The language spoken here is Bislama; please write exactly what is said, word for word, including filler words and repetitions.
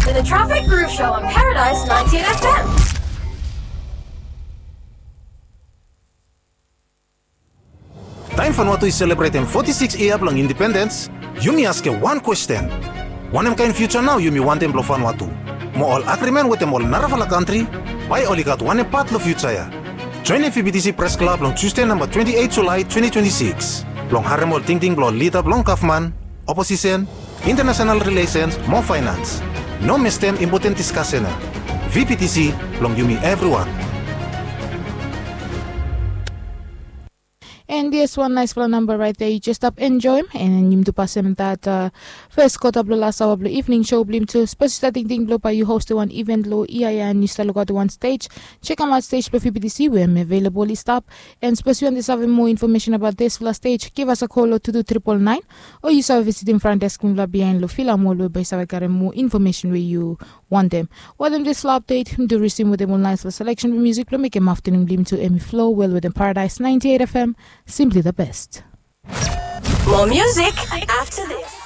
The Traffic Groove Show on Paradise ninety-eight F M. Taem Vanuatu i selebretem foti sikis yia blong indipendens, yumi askem wan kwesten. Wanem kaen fiuja nao yumi wantem blong Vanuatu? Mo ol agrimen wetem ol narafala kantri, bae oli gat wanem pat long fiuja ya? Joenem V B T C Pres Klab long Tusde namba twenti eit Julae twenti twenti sikis blong harem ol tingting blong ol lida blong gavman, oposisen, intanasonal rilesens mo faenans. No mestem impoten diskasen ya. V B T C blong yumi evriwan. And yes, wan naesfala namba raet ya yu jes stap enjoem, and yumi tu pasem dat fes kota blong las aoa blong evening show blong yumi tu. Sapos yu stap tingting blong bae yu hostem wan event long ia ya and yu stap lukaotem wan stej, jekemaot stej blong V B T C we hem avelabol i stap. And sapos yu wantem save moa infomesen abaot disfala stej, givas a kol long tu tu tripol naen, o yu save visitim front desk blong yufala biaen long Fila Mall we bae yu save karem moa infomesen we yu wantem. Wetem disfala apdet, mi tu risim wetem ol naesfala seleksen blong musik blong mekem aftanun blong yumi tu hem i flo wel wetem Paradise ninety-eight F M, simply the best. More music after this.